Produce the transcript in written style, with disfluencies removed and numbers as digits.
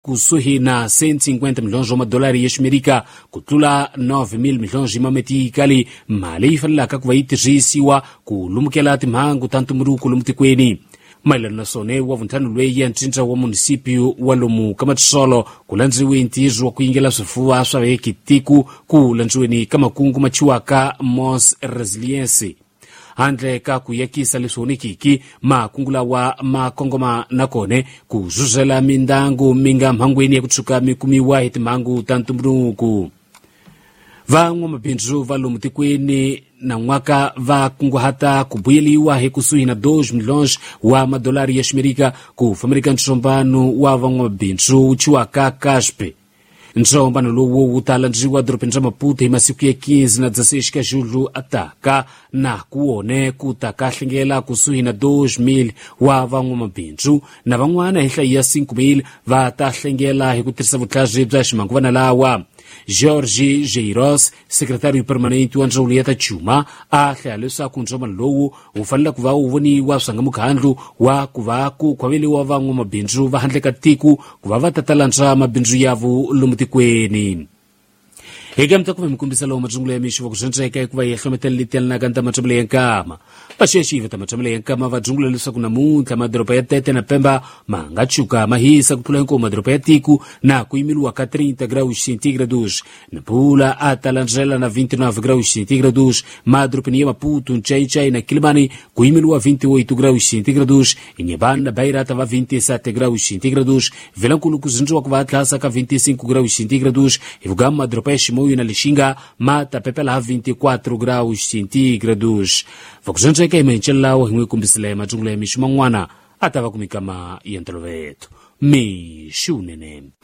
Kusuhi na 150 milhões wa madolari ya ximerika, ku tlula 9,000 milhões ma metikali, mali yi fanelaka ku va yi tirhisiwa ku lumukela timhangu ta ntumbuluko lomu tikweni. Mayelana na swona, wa vuntlhanu lweyi ya ncinca wa munisipio wa lomu ka Matsolo ku landziwe ntirho wa ku yingela swifuva swa vekitiku ku landziweni ka makungu machiwaka Mos Resilience. Handle ka ku yakisa leswi onekiki, makungu lawa ma kongoma na kone ku zuzela mindyangu mi nga mhangweni ya ku tshuka mi kumiwa hi timhangu ta ntumbuluko. Van'wamabindzu va lomu tikweni na n'waka va kunguhata ku vuyeliwa hi kusuhi na 2 milhões wa madolari ya ximerika ku fambeleka ntsombano wa van'wamabindzu wu chiwaka Caspe. Ntsombano lowu wu ta landziwa dorobeni ra Maputo hi masiku ya 15 na 16 ka Julho ataka, na ku wone ku ta ka hlengela kusuhi na 2,000 wa van'wamabindzu na van'wana hi nhlayo ya 5,000 va ta hlengela hi ku tirhisa vutlhari bya ximanguvana lawa. George Jeiros, sekretariyo permanente wa ndzawulo ya ta cuma, a hlaya leswaku ntsombano lowu wu fanele ku va wu voniwa swanga mukhandlu wa ku va ku khwaveliwa van'wamabindzu va handle ka tiko ku va va ta talandza mabindzu yavo lomu tikweni. Eka mi ta kuva mi kombisa lowu matsungula ya mixo va ku swantseka hikuva yi hlometela leti yelanaka ni ta matshambelo ya nkama. Vaxexi va ta matshambelo ya nkama va dzungula leswaku namuntlha madoroba ya Tete na Pemba ma nga tshuka ma hisa ku tlula hinkwavo madoroba ya tiko na ku yimeliwa ka 30 graus centígrados. Nampula a ta landzela na 29 graus centígrados. Madorobeni ya Maputo, Nchaichai na Quilimane ku yimeliwa 28 graus centígrados. Inhambane na Beira ta va 27 graus centígrados. Vilankulu ku zindziwa ku va tlhasa ka 25 graus centígrados. Hi vugamu madoroba ya Chimoio na Lixinga ma ta pepela 24 graus centígrados. Vakuzendzeka hi mahencelo lawa hi n'wi kombisile matsungula ya mixo man'wana a ta va ku mikama ya ntolovelo. Mixo wunene.